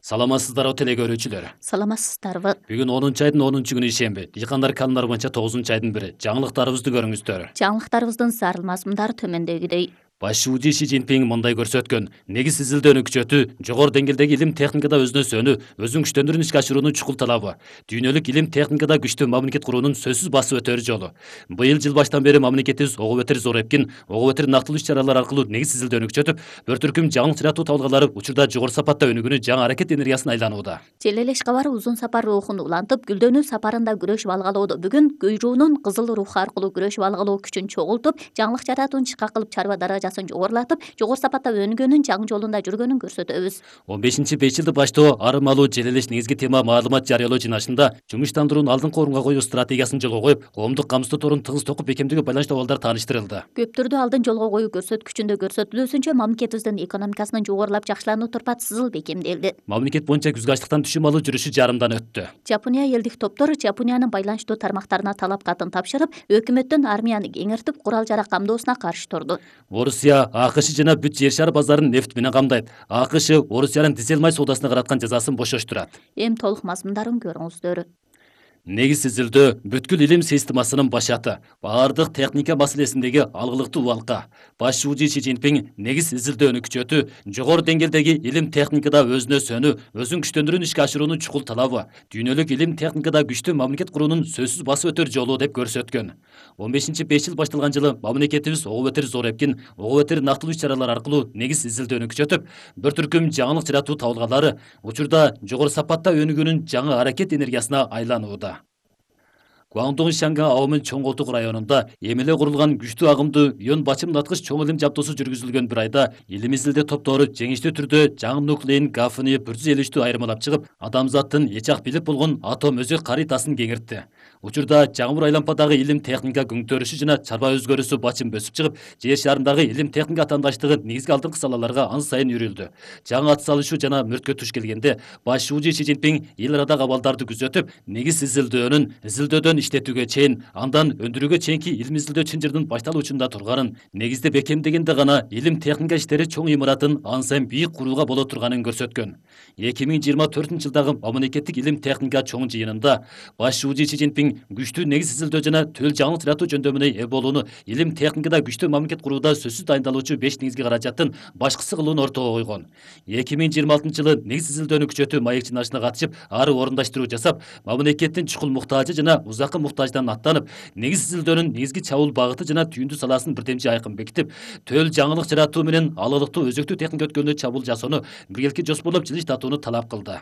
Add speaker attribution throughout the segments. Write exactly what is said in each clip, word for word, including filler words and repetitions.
Speaker 1: Саламатсыздарбы теле көрүүчүлөр.
Speaker 2: Саламатсыздарбы.
Speaker 1: Бүгүн онунчу айдын онунчу күнү ишемби. Дыйкандар канундар боюнча тогузунчу айдын бири. Жаңылыктарыбызды көрүңүздөр.
Speaker 2: Жаңылыктарыбыздын зарыл мазмундары төмөндөгүдөй.
Speaker 1: Баш шуужи Ши Цзиньпин мындай көрсөткөн: негиз изилдөөнү күчөтүү, жогору деңгээлдеги илим техникада өзүнө сөнүү, өзүн күчтөндүрүүнү ишке ашыруунун чукул талабы, дүйнөлүк илим техникада күчтүү мамлекет куруунун сөзсүз басып өтөр жолу. Быйыл жыл баштан бери мамлекетибиз ого бетер зор эпкин, ого бетер нактылуу иш-чаралар аркылуу негиз изилдөөнү күчөтүп, бир түркүм жаңылык жаратуу табылгалары учурда жогору сапатта өнүгүүнү жаңы аракет энергиясына айланууда.
Speaker 2: Желелеш кабары узун сапар рухун улантып, гүлдөнүү сапарында күрөшүп алгалоодо бүгүн көйрүүнүн кызыл руху аркылуу күрөшүп алгалоо күчүн чогултуп, жаңылык жаратууну ишке кылып чарба даражасын жогорулатып, жогору сапатта өнүгүүнүн жаңы жолунда жүргөнүн көрсөтөбүз.
Speaker 1: он бешинчи беш жылды баштоо арым алуу желелеш негизги тема маалымат жарыялоо жыйналышында жумуштандыруунун алдыңкы орунга коюу стратегиясын жолго коюп, коомдук камсыздоо торун тыгыз токуп бекемдөөгө байланыштуу абалдар тааныштырылды.
Speaker 2: Көптөрдү алдын жолго коюу көрсөткүчүндө көрсөтүлүүсүнчө мамлекетибиздин экономикасынын жогорулап жакшылануу турпат сызыл бекемделди.
Speaker 1: Мамлекет боюнча күзгү ачлыктан түшүм алуу жүрүшү жарымдан өттү.
Speaker 2: Жапония элдик топтор Жапониянын байланыштуу тармактарына талап катын тапшырып, өкмөттөн армияны кеңиртип, курал-жарак камдоосуна каршы турду.
Speaker 1: Орусия АКШ жана бүт жер шары базарын нефт менен камдайт. АКШ Орусиянын дизель май соодасына караткан жазасын бошоштурат.
Speaker 2: Эми толук мазмундарын көрүңүздөр.
Speaker 1: Негиз изилдөө бүткүл илим системасынын башаты, баардык техника маселесиндеги алгылыктуу убалка. Баш шуужи Ши Цзиньпин негиз изилдөөнү күчөтүү, жогору деңгээлдеги илим техникада өзүнө сөнүү, өзүн күчтөндүрүүнү ишке ашыруунун чукул талабы, дүйнөлүк илим техникада күчтүү мамлекет куруунун сөзсүз басып өтөр жолу деп көрсөткөн. он бешинчи беш жыл башталган жылы мамлекетибиз ого бетер зор эпкин, ого бетер нактылуу иш-чаралар аркылуу негиз изилдөөнү күчөтүп, бир түркүм жаңылык жаратуу табылгалары учурда жогору сапатта өнүгүүнүн жаңы аракет энергиясына айланууда. Гуандун Шанга Аомын чоң колтук районунда эми эле курулган күчтүү агымдуу ион бачым наткыч чоң илим жабдуусу жүргүзүлгөн бир айда илим изилдөө топтору жеңиштүү түрдө жаңы нуклеин гафыны бир жүз элүү үчтү айырмалап чыгып, адамзаттын эч ак билип болгон атом өзөк каритасын кеңиртти. Учурда жаңы бур айлампадагы илим техника күңтөрүшү жана чарба өзгөрүүсү бачым бөсүп чыгып, жер шарындагы илим техника атаандаштыгы негизги алдыңкы салаларга ан сайын үрүлдү. Жаңы ат салышуу жана мөрткө туш келгенде баш шуужи Ши Цзиньпин эл арадагы абалдарды күзөтүп, негиз изилдөөнүн изилдөөдөн иштетүүгө чейин, андан өндүрүүгө чейинки илим изилдөө чынжырдын башталуучунда турганын, негизде бекемдегенде гана илим техника иштери чоң имаратын ан сайын бийик курууга боло турганын көрсөткөн. эки миң жыйырма төртүнчү жылдагы мамлекеттик илим техника чоң жыйынында баш шуужи Ши Цзиньпин күчтүү негиз изилдөө жана төл жаңылык жаратуу жөндөмүнө ээ болууну, илим техникада күчтүү мамлекет курууда сөзсүз дайындалуучу беш негизги каражаттын башкысы кылууну ортого койгон. эки миң жыйырма алтынчы жылы негиз изилдөөнү күчөтүү маек жыйналышына катышып, ары орундаштыруу жасап, мамлекеттин чукул муктажы жана узакы муктаждан аттанып, негиз изилдөөнүн негизги чабуул багыты жана түйүндү саласын бирдемчи айкын бекитип, төл жаңылык жаратуу менен алалыктуу өзөктүү техника өткөнүнө чабуул жасоону биргеликте жоспорлоп жылыштатууну талап кылды.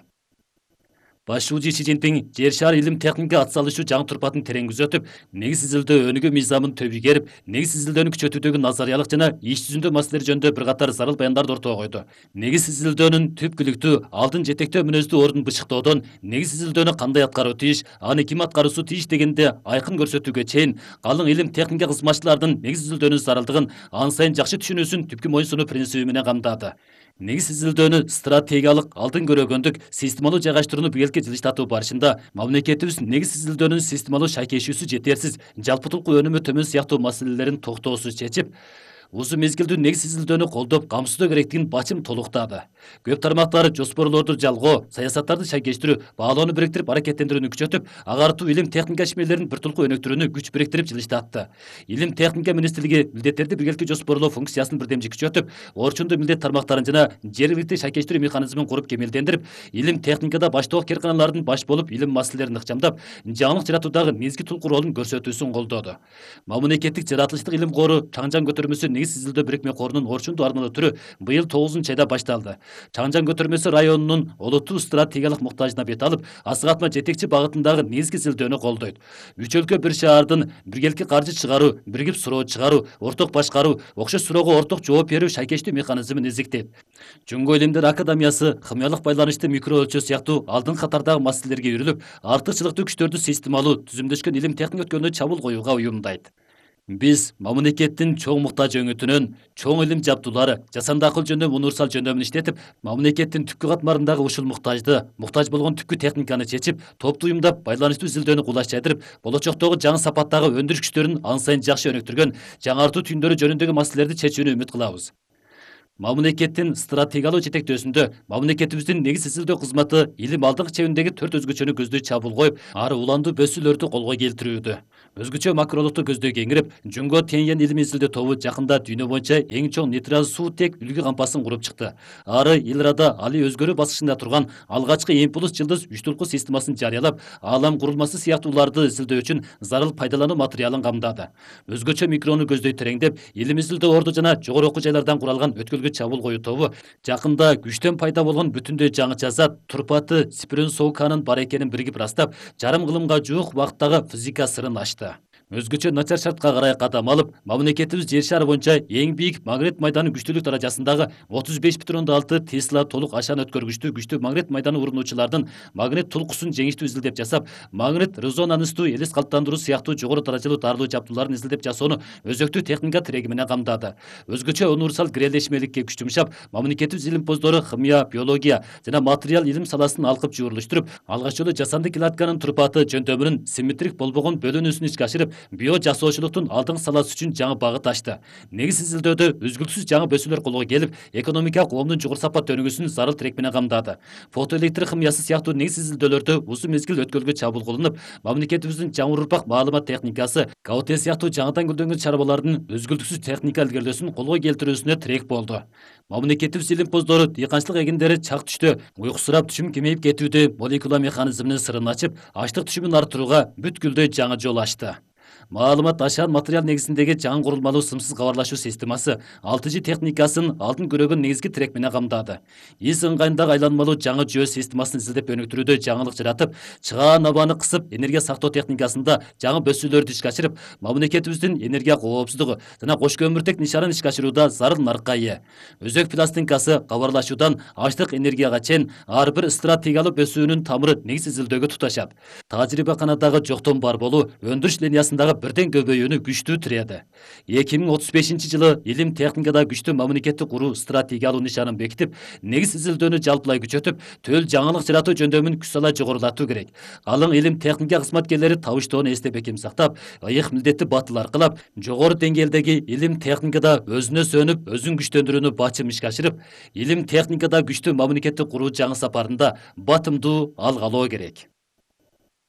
Speaker 1: Баш шуужи Ши Цзиньпин жер шары илим техника ат салышуу жаңы турпатын терең күзөтүп, негиз изилдөө өнүгүү мыйзамын төбүгерип, негиз изилдөөнү күчөтүүдөгү назариялык жана иш жүзүндө маселелер жөнүндө бир катар зарыл баяндарды ортого койду. Негиз изилдөөнүн түпкүлүктүү, алдын жетектөө мүнөздүү ордун бычыктоодон, негиз изилдөөнү кандай аткаруу тийиш, аны ким аткаруусу тийиш дегенде айкын көрсөтүүгө чейин, калың илим техника кызматчылардын негиз изилдөөнүн зарылдыгын ан сайын жакшы түшүнүүсүн түпкү моюнсунуу принциби менен камдады. Негиз изилдөөнү стратегиялык, алдын көрөгөндүк, системалуу жайгаштырууну биргеликте жылыштатуу барышында мамлекетибиз негиз изилдөөнүн системалуу шайкешүүсү жетерсиз, жалпытылкуу өнүмү төмөн сыяктуу маселелерин токтоосуз чечип, узун мезгилдүү негиз изилдөөнү колдоп, камсыздоо керектигин бачым толуктады. Көп тармактар жоспорлорду жалгоо, саясаттарды шайкештирүү, баалоону бириктирип, аракеттендирүүнү күчөтүп, агартуу илим техника ишмерлерин бир тулку өнүктүрүүнү күч бириктирип жылыштатты. Илим техника министрлиги милдеттерди биргеликте жоспорлоо функциясын бирдемчи күчөтүп, орчундуу милдет тармактарын жана жергиликтүү шайкештирүү механизмин куруп кемелдендирип, илим техникада баштоок керканалардын баш болуп, илим маселелерин ыкчамдап, жаңылык жаратуудагы негизги тулку ролун көрсөтүүсүн колдоду. Мамлекеттик жаратылыштык илим кору Чаңжан көтөрмөсү негиз изилдөө бирикме корунун орчундуу армылуу түрү быйыл тогузунчу айда башталды. Чаңжан көтөрмөсү районунун олуттуу стратегиялык муктажына бет алып, асык-атма жетекчи багытындагы негизги изилдөөнү колдойт. Үч өлкө бир шаардын биргеликти каржы чыгаруу, биригип суроо чыгаруу, орток башкаруу, окшош суроого орток жооп берүү шайкештүү механизмин изиктейт. Жөнгө илимдер академиясы хымиялык байланышты микро өлчөө сыяктуу алдыңкы катардагы маселелерге үрүлүп, артыкчылыктуу күчтөрдү системалуу, түзүмдөшкөн илим техника өткөнүнө чабуул коюуга уюмдайт. Биз мамлекеттин чоң муктаж өңүтүнөн, чоң илим жабдуулары, жасанды акыл жөндөмү универсал жөндөмүн иштетип, мамлекеттин түпкү катмарындагы ушул муктажды, муктаж болгон түпкү техниканы чечип, топтуу уюмдап, байланыштуу изилдөөнү кулаш жайдырып, болочоктогу жаңы сапаттагы өндүрүш күчтөрүн ан сайын жакшы өнүктүргөн, жаңартуу түйүндөрү жөнүндөгү маселелерди чечүүнү үмүт кылабыз. Мамлекеттин стратегиялуу жетектөөсүндө мамлекетибиздин негиз изилдөө кызматы илим алдыңкы чебиндеги төрт өзгөчөнү көздөй чабуул коюп, ары уландуу бөсүүлөрдү колго келтирүүдө. Өзгөчө макролукту көздөй кеңирип, Жунго Теньян илим изилдөө тобу жакында дүйнө боюнча эң чоң нейтрал суу тек үлгү кампасын куруп чыкты. Ары эл арада али өзгөрүү баскычында турган алгачкы импульс жылдыз үч толку системасын жарыялап, аалам курулмасы сыяктууларды изилдөө үчүн зарыл пайдалануу материалын камдады. Өзгөчө микрону көздөй тереңдеп, илим изилдөө орду жана жогору окуу жайлардан куралган өткөлгө чабуул коюу тобу жакында күчтөн пайда болгон бүтүндөй жаңыча зат турпаты спиренсоуканын бар экенин биригип ырастап, жарым кылымга жуук убакыттагы физика сырын ачты. Өзгөчө начар шартка карай кадам алып, мамлекетибиз жер шары боюнча эң бийик магнит майданын күчтүүлүк даражасындагы отуз беш бүтүн ондон алты Тесла толук ашан өткөргүчтүү күчтүү магнит майданы урунуучулардын магнит тулкусун жеңиштүү изилдеп жасап, магнит резонанстуу элес калыптандыруу сыяктуу жогору даражалуу дарылуу жабдууларын изилдеп жасоону өзөктүү техника тиреги менен камдады. Өзгөчө универсал гирелешмеликке күч жумшап, мамлекетибиз илимпоздору химия, биология жана материал илим саласын алкып жуурулуштуруп, алгач жолу жасанды кладканын турпаты жөндөмүнүн симметрик болбогон бөлүнүүсүн ишке ашырып, био жасоочулуктун алдыңкы саласы үчүн жаңы багыт ачты. Негиз изилдөөдө үзгүлтүсүз жаңы бөсүүлөр колго келип, экономика коомдун жогору сапат өнүгүүсүн зарыл тирек менен камдады. Фотоэлектр химиясы сыяктуу негиз изилдөөлөрдө узун мезгил өткөлгө чабуул кылынып, мамлекетибиздин жаңы урпак маалымат техникасы, КАОТ сыяктуу жаңыдан гүлдөнгөн чарбалардын өзгүлтүксүз техника илгерилөөсүн колго келтирүүсүнө тирек болду. Мамлекетибиз илимпоздору дыйканчылык эгиндери чак түштө уйкусурап түшүм кемейип кетүүдө молекула механизминин сырын ачып, ачтык түшүмүн арттырууга бүткүлдөй жаңы жол ачты. Маалымат ашан материал негизиндеги жаңы курулмалуу сымсыз кабарлашуу системасы алты G техникасын алдын көрөгөн негизги тирек менен камдады. Из ыңгайындагы айланмалуу жаңы жүйө системасын изилдеп өнүктүрүүдө жаңылык жаратып, чыгаан абаны кысып, энергия сактоо техникасында жаңы бөсүүлөрдү ишке ашырып, мамлекетибиздин энергия коопсуздугу жана кош көмүртек нишанын ишке ашырууда зарыл нарыкка ээ. Өзөк пластинкасы кабарлашуудан ачтык энергияга чейин ар бир стратегиялуу бөсүүнүн тамыры негиз изилдөөгө туташат. Тажрыйбаканадагы жоктон бар болуу өндүрүш линиясындагы бирден көбөйүүнү күчтүү тиреді. эки миң отуз бешинчи жылы илим техникада күчтүү мамлекетти куруу стратегиялуу нишанын бекитип, негиз изилдөөнү жалпылай күчөтүп, төл жаңылык жаратуу жөндөмүн күч сала жогорулатуу керек. Алың илим техника кызматкерлери табыштоону эсте бекем сактап, ыйык милдетти батыл аркылап, жогору деңгээлдеги илим техникада өзүнө сөнүп, өзүн күчтөндүрүүнү бачым ишке ашырып, илим техникада күчтүү мамлекетти куруу жаңы сапарында батымдуу алгалоо керек.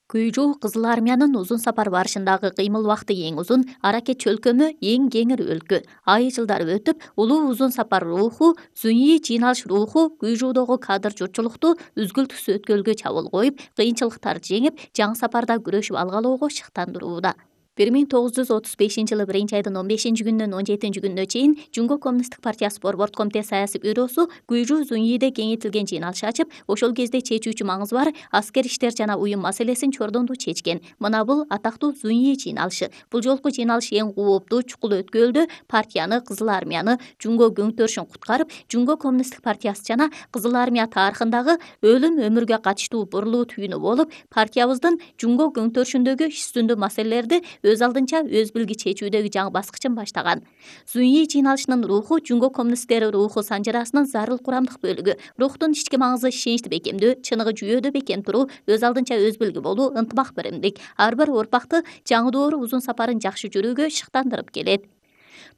Speaker 2: Күйжүү Кызыл Армиянын узун сапар барышындагы кыймыл убакыты эң узун, аракет чөлкөмү эң кеңир өлкө. Ай жылдар өтүп, улуу узун сапар руху, зуньи жыйналыш руху күйжүүдөгү кадр журтчулукту үзгүлтүксүз өткөлгө чабуул коюп, кыйынчылыктарды жеңип, жаңы сапарда күрөшүп алгалоого шыктандырууда. бир миң тогуз жүз отуз бешинчи жылы биринчи айдын он бешинчи күнүнөн он жетинчи күнүнө чейин Жунго коммунисттик партиясы борбордук комитет саясий бюросу Күйжүү Зуньиде кеңейтилген жыйналыш ачып, ошол кезде чечүүчү маңызы бар аскер иштер жана уюм маселесин чордондуу чечкен. Мына бул атактуу Зуньи жыйналышы. Бул жолку жыйналыш эң кооптуу чукул өткөлдө партияны, Кызыл Армияны, Жунго көңтөрүшүн куткарып, Жунго коммунисттик партиясы жана Кызыл Армия тарыхындагы өлүм өмүргө катыштуу бурлуу түйүнү болуп, партиябыздын Жунго көңтөрүшүндөгү иш үстүндө маселелерди өз алдынча өз билги чечүүдөгү жаңы баскычын баштаган. Зуньи жыйналышынын руху Жунго коммунисттери руху санжырасынын зарыл курамдык бөлүгү. Рухтун ички маңызы ишеничти бекемдөө, чыныгы жүйөдө бекем туруу, өз алдынча өз билги болуу, ынтымак биримдик. Ар бир урпакты жаңы доору узун сапарын жакшы жүрүүгө шыктандырып келет.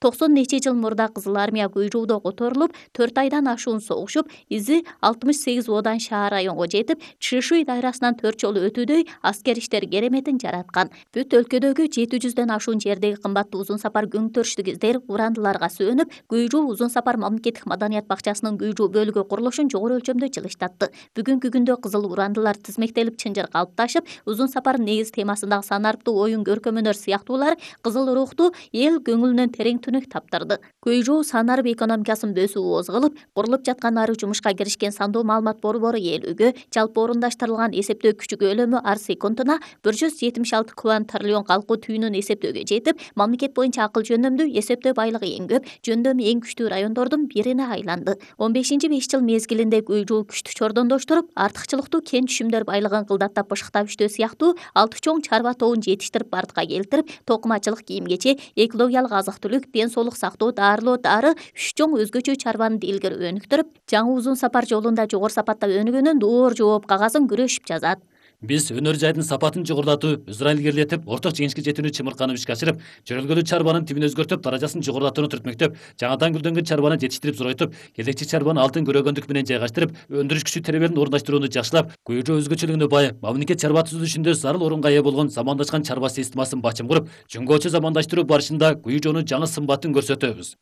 Speaker 2: токсон нече жыл мурда Кызыл Армия Күйжүүдө которулуп, төрт айдан ашуун согушуп, изи алтымыш сегиз одан шаар районго жетип, Чшишуй дайрасынан төрт жолу өтүүдөй аскер иштер кереметин жараткан. Бүт өлкөдөгү жети жүздөн ашуун жердеги кымбаттуу узун сапар көңтөрүштүк издер урандыларга сүйөнүп, Күйжүү узун сапар мамлекеттик маданият бакчасынын Күйжүү бөлүгү курулушун жогору өлчөмдө жылыштатты. Бүгүнкү күндө кызыл урандылар тизмектелип чынжыр калыпташып, узун сапардын негиз темасындагы санарыптуу оюн көркөмөнөр сыяктуулар кызыл рухту эл көңүлүнөн терең түнүк таптырды. Күйжүү санарып экономикасын бөсүү ооз кылып, курулуп жаткан ары жумушка киришкен сандуу маалымат борбору ээлүүгө, жалпы орундаштырылган эсептөө күчү көлөмү ар секундуна бир жүз жетимиш алты квант-триллион калку түйүнүн эсептөөгө жетип, мамлекет боюнча акыл жөндөмдүү эсептөө байлыгы эң көп, жөндөмү эң күчтүү райондордун бирине айланды. он бешинчи беш жыл мезгилинде Күйжүү күчтү чордондоштуруп, артыкчылыктуу кен түшүмдөр байлыгын кылдаттап бышыктап иштөө сыяктуу алты чоң чарба тобун жетиштирип бардыкка келтирип, токумачылык, кийим-кече, экологиялык азык-түлүк, ден соолук сактоо, дарылоо, дары, үч чоң өзгөчө чарбаны илгери өнүктүрүп, жаңы узун сапар жолунда жогору сапатта өнүгөнүн доор жооп кагазын күрөшүп жазат.
Speaker 1: Биз өнөр жайдын сапатын жогорулатуу, өзара илгерилетип, орток жеңишке жетүүнү чымырканып ишке ашырып, жөнөлгөлүү чарбанын тибин өзгөртүп, даражасын жогорулатууну түртмөктөп, жаңадан гүлдөнгөн чарбаны жетиштирип зоройтуп, келечек чарбаны алтын көрөгөндүк менен жайгаштырып, өндүрүш күчү теребелин орундаштырууну жакшылап, көйрө өзгөчөлүгүнө бай, мамлекет чарба түзүлүшүндө зарыл орунга ээ болгон замандашкан чарба системасын бачым куруп, жөнгөчө замандаштыруу барышында Куй жоонун жаңы сымбатын көрсөтөбүз.